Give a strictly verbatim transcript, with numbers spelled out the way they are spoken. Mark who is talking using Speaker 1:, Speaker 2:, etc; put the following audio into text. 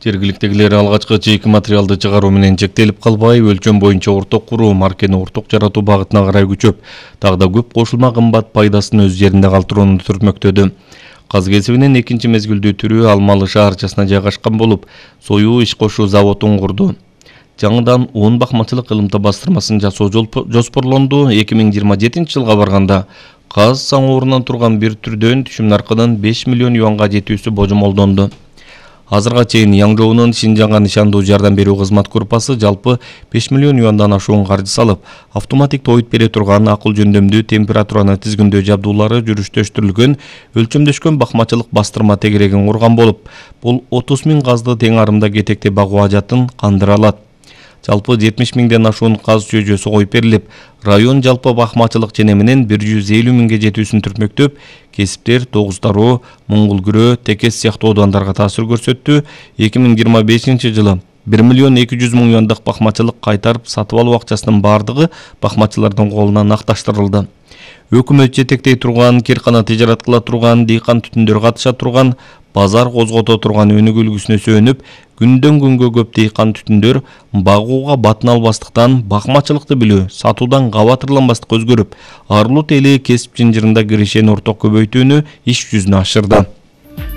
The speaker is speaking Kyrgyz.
Speaker 1: Жергиликтегилер алгачкы чейки материалды чыгаруу менен чектелип калбай, өлчөм боюнча орток куруу, маркени орток жаратуу багытына карай күчөп, дагы да көп кошулма кымбат пайдасын өз жеринде калтырууну түртмөктөдү. Каз кесибинин экинчи мезгилдүү түрү Алмалы шаарчасына жайгашкан болуп, союу иш кошуу заводун курду. Жаңыдан он бакмачылык ылымта бастырмасын жасоо жоспорлонду. эки миң жыйырма жетинчи жылга барганда каз саңоорунан турган бир түрдөн түшүм наркынын беш миллион юанга жетүүсү божомолдонду. Азырга чейин Яңжоонун Шинжаңга нишандуу жардам берүү кызмат группасы жалпы беш миллион юандан ашуун каржы салып, автоматик тоют бере турган акыл жөндөмдүү температураны тизгиндөө жабдуулары жүрүштөштүрүлгөн өлчөмдөшкөн бакмачылык бастырма тегерегин курган болуп, бул отуз миң казды тең арымда кетекте багуу ажатын кандыра алат. Жалпы жетимиш миңден ашуун каз чөйжөсү коюп берилип, район жалпы бакмачылык ченеминин бир жүз элүү миңге жетүүсүн түртмөктөп, кесиптер тогуз тароо, Моңгулкүрөө, Текес сыяктуу оодандарға таасир көрсөттү. эки миң жыйырма бешинчи жылы бир миллион эки жүз миң юандык бакмачылык кайтарып сатып алуу акчасынын бардыгы бакмачылардын колуна накташтырылды. Өкмөт жетектей турган, киркана тижарат кыла турган, дыйкан түтүндөр катыша турган, базар козгото турган өнүгүү үлгүсүнө сүйөнүп, күндөн күнгө көп дыйкан түтүндөр багууга батын албастыктан бакмачылыкты билүү, сатуудан кабатырланбастыкка өзгөрүп, арылуу тели кесип жынжырында киришени орток көбөйтүүнү иш жүзүнө ашырды.